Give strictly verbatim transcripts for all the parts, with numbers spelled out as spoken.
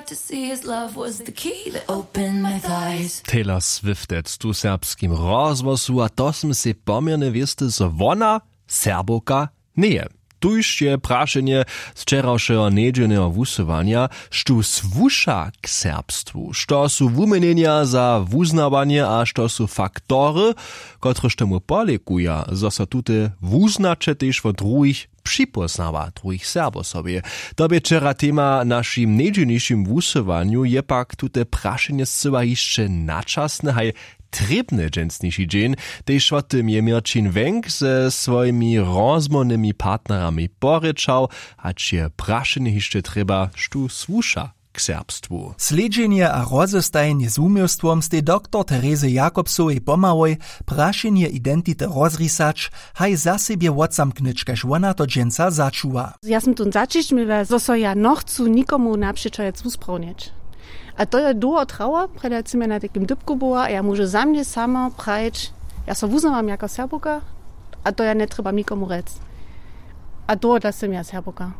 To see his love was the key that opened my thighs. Taylor Swift tu w serbskim rozhłosu, a to smy sej poměrnje wěsty, zo wona Serbowka njeje. Tuž je prašenje z wčerawšeho njedźelneho wusyłanja, štó słuša k serbstwu, što su wuměnjenja za wuznawanje a što su faktory, kotrež tomu polěkuja, zo so tute wuznaće tež wot druhich připóznawa, druhich Serbow sobie. To bě wčera tema w našim njedźelnišim wusyłanju. Je pak tute prašenje scyła hišće načasne haj trěbny dźensniši dźeń. Tež wo tym je Měrćin Wenk ze swojimi rozmołwnymi partnerami porěčał, hač je prašenje hišće trěba, štó słuša k serbstwu. Slědźenje a rozestajenje z wuměłstwom stej doktor Terezy Jakobsowej pomałoj, prašenje identity rozrisać, haj za sebje wotzamknyć, kaž wona to dźensa začuwa. Ja sym tón zaćišć měła, zo so ja nochcu nikomu napřećahec wusprawnić. A to je dołho trało, prjedy sym ja na takim dypku była a ja móžu za mnje samo prajić, ja so wuznawam jako Serbowka a to ja njetrjebam nikomu rjec. A tohodla sym ja Serbowka.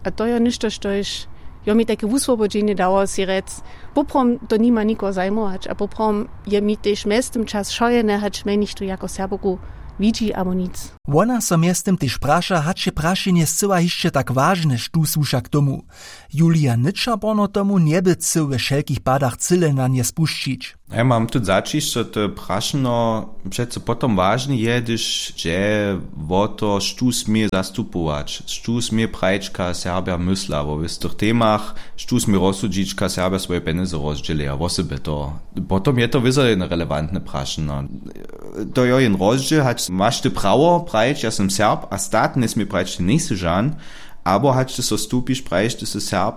A to je něšto, štož jo mi tajke wuswobodźenje dało sej rjec, poprawom to nima nikoho zajmować a poprawom je mi tež mjeztym čas wšojedne, hač mje něchtó jako Serbowku widźi abo nic. Wona so mjeztym tež praša, hač je prašenje scyła hišće tak wažne, štó słuša k tomu. Julija Nyča porno tomu njeby chcył we wšelkich padach cyle na nje spušćić. Ja mam tu zaćišć, zo to prašeno přeco potom wažne je, hdyž dźe wo to, štó smě zastupować, štó smě prajić, kaž Serbja mysla wo wěstych temach, štó smě rozsudźić, kaž Serbja swoje pjenjezy rozdźělja wosebje to. Potom je to wězo jedno relevantne prašeno. To jo jen rozdźěl, hač maš ty prawo prajić, ja sym Serb, a stat njesmě prajić, ty njejsy žan, abo hač ty so stupiš, prajiš, ty sy Serb,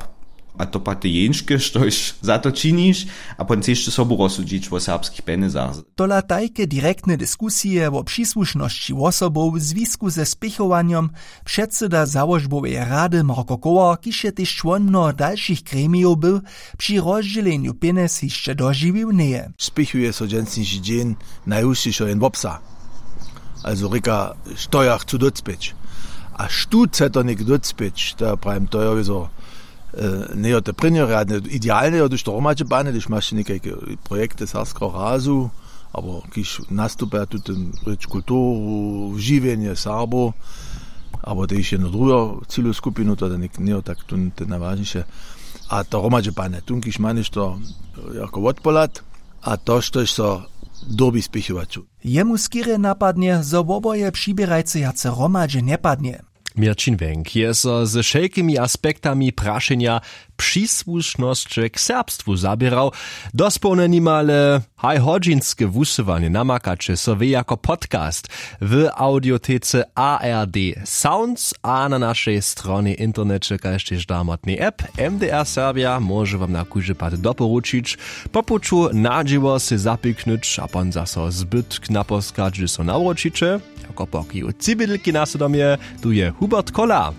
a to pak ty jeńške, štož za to činiš, a potom chceš ty sobu rozsudźić wo serbskich pjenjezach. Tola tajke direktne diskusije wo přisłušnosći wosobow w zwisku ze spěchowanjom předsyda załožboweje rady Marko Kołar, kiž je tež čłon mnoho dalšich gremijow był, při rozdźělenju pjenjez hišće dožiwił njeje. Spěchuje so dźensniši dźeń najhušćišo jen wobsah. Also rěka, što ja chcu docpěć. A štó chce to něk docpěć, to ja prawim, to je wězo, e, njejo te prěnjorjadne. Idealne jo, hdyž to hromadźe bane, hdyž maš někajke projekty serbskeho razu, abo kiž nastupja tutym rěč kulturu, žiwjenje Serbow, abo tež jednu druhu cilu skupinu, to je něk njejo tak tón, te najwažniše. A to hromadźe bane, tón kiž ma něšto jako wotpohlad, a to, štož so dyrbi spěchować. Jemu skerje napadnje, zo woboje přiběrajcy wjace hromadźe njepadnje. Měrćin Wenk je so ze wšelkimi aspektami prašenja přisłušnosće k serbstwu zaběrał. Dospołnje nimale haj hodźinske wusyłanje namakaće so wě jako podcast w audiotece A R D Sounds a na našej stronje w interneće kaž tež damotnej app. M D R Serbja móže wam na kóždy pad doporučić, po puću na dźěło sej zapiknyć a pon zaso zbytk naposkać, hdźež so nawróćiće. Jako pokiju tři bědlki na so domje, tu je Hubert Kola.